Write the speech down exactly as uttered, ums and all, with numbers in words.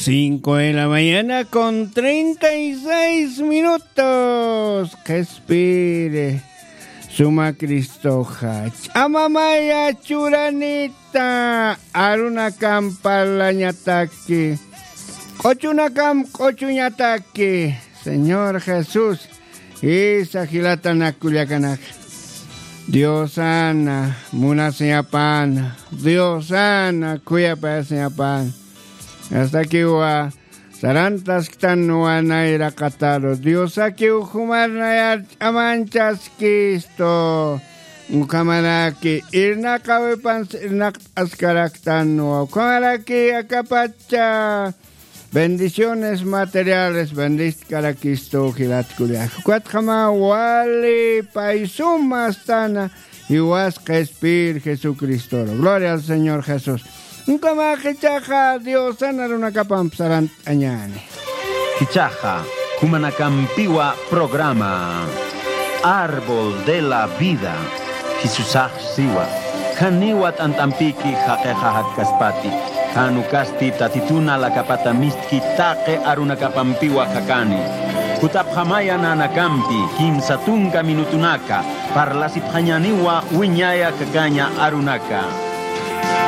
Cinco de la mañana con treinta y seis minutos. Qhispiri suma Cristoxa. Ch'amamaya churanita. Arunakam parlañataki. Q'uchunakam q'uchuñataki. Señor Jesús. Isa jilatanakullakanaka. Diosana munasiñapana. Diosana khuyapayasiñapana. Astakiwa sarantasktanwa nayraqataru. Diosakiw jumarnayar ch'amanchaskistu. Ukhamaraki irnaqawipans irnaqt'askaraktanwa. Ukhamaraki akapacha bendiciones materiales bendistkarakistu jilatkullax. Ukatjama wali paysuma astana. Jiwas qhispir Jesucristoru. Gloria al Señor Jesús. Ukamax ichaxa Diosan arunakapamp sarant'añäni. Ichaxa jumanakampiwa programa Árbol de la Vida. Jesusax siwa. Janiwa t'ant'ampiki jaqixa jatkaspati. Jan ukasti Tatitun alakapata mistki taqi arunakapampiwa jakani. Jutapxamaya nanakampi kimsa tunka minutunaka parlasipxañäniwa wiñaya jakaña arunaka.